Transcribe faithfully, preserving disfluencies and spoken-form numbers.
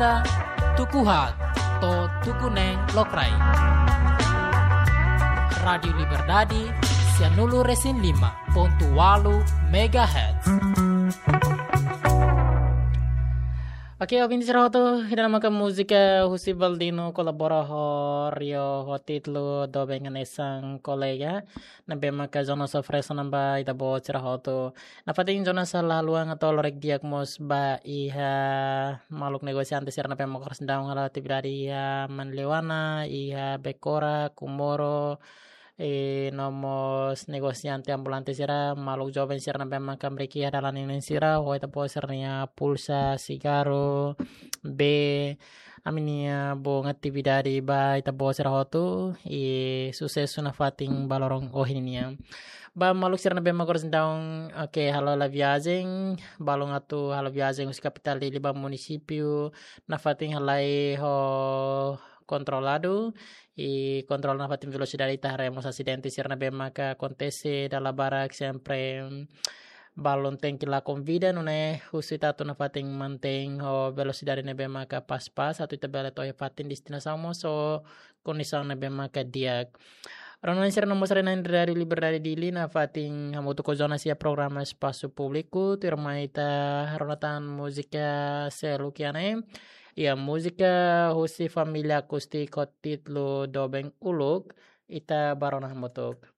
Tuku haat to'o tuku neen lokraik. Rádiu Liberdade, sianulu resin lima pontu walu megahertz. Oke, ouvinte sira hotu, ida-ne'e maka múzika husi Valdino kolabora ho Rio ho títulu Doben Hanesan Kolega. Ne'ebé maka Jonas oferese ona ba ita-boot sira hotu. Nafatin Jonas halo haluha atu lorek di'ak mós ba iha maluk negosiante sira ne'ebé maka oras ne'e daudaun halo atividade iha Manleuana, iha Becora, Comoro, i no mós negosiante ambulante sira, maluk joven sira ne'ebé maka hamriik iha dalan ninin sira, ho ita-boot sira-nia pulsa, sigarru, bee, ami-nia bom atividade ba ita-boot sira hotu, i susesu nafatin ba loron ohin nian. Ba maluk sira ne'ebé maka oras ne'e daudaun, oke, halo hela viajen, balun atu halo viajen husi kapitál Dili ba munisípiu, nafatin halai ho kontroladu, i kontrola nafatin velosidade ita haree mós asidente sira ne'ebé maka akontese dala barak sempre balun tenke lakon vida, nune'e husu ita atu nafatin mantein ho velosidade ne'ebé maka pas-pas, atu ita bele to'o iha fatin destinasaun mós ho kondisaun ne'ebé maka di'ak. Rona sira no mós rona Rádiu Liberdade Dili nafatin hamutuk ho Jonas iha programa Espasu Públiku, tuirmai ita rona tan múzika seluk iha ne'e. Iha múzika husi família akústika ho títulu Doben Uluk, ita bá rona hamutuk.